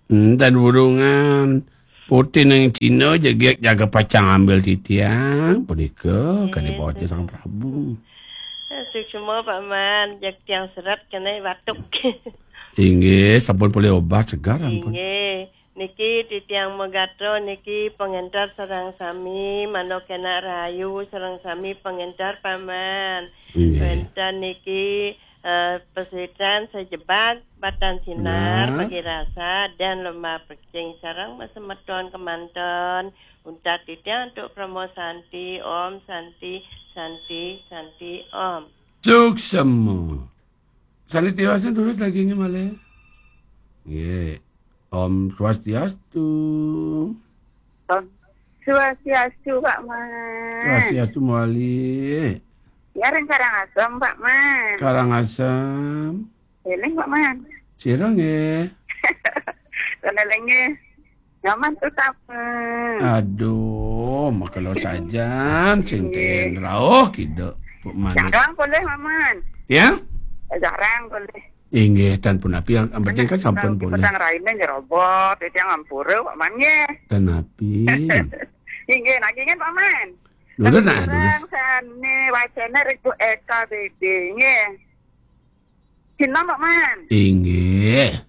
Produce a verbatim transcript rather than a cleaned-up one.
Hmm, dan burungan putih nang Cina jegek jaga pacang ambil titiang, punika kadi bawa Sang Prabu. Suksma, Pak Man, jeg tiang seret kenai batuk. Inggih, sampun polih obat segar ampun. Inggih. Niki titiang magatra niki pangenter sareng sami, manuk enak rahayu sareng sami pangenter, Pak Man. Inggih. Wenten niki eh, pesitran sejebag batan sinar Nah. Pagi rasa dan lomba percing sareng masemeton kemanten. Untat titiang antuk Promo Santi, Om Santi, Santi, Santi, Om. Suksma. Santi tiwasan dulu dagingnya malih. Nggih. Om Swastiastu. Om Swastiastu, Pak Man. Swastiastu malih. Ya, ring Karangasem, Pak Man. Karangasem. Eling, Pak Man. Sira nggih. Kan eling nggih. Nyaman tuh sama. Aduh, makelo sajan sing ten rauh kiduk, Bu Manik. Yang doang boleh, Pak Man. Ya? Jarang boleh. Inggih, tan punapi, yang penting kan sampun boleh. Petang raine nyerobot, itu yang ampura, Pak Man nggih. Tan napi. Inggih, nagih kan, Pak Man. Dulu nah, dulu. Sane wacana ring Bu Eka Bebe nggih. Cina, Pak Man. Inggih.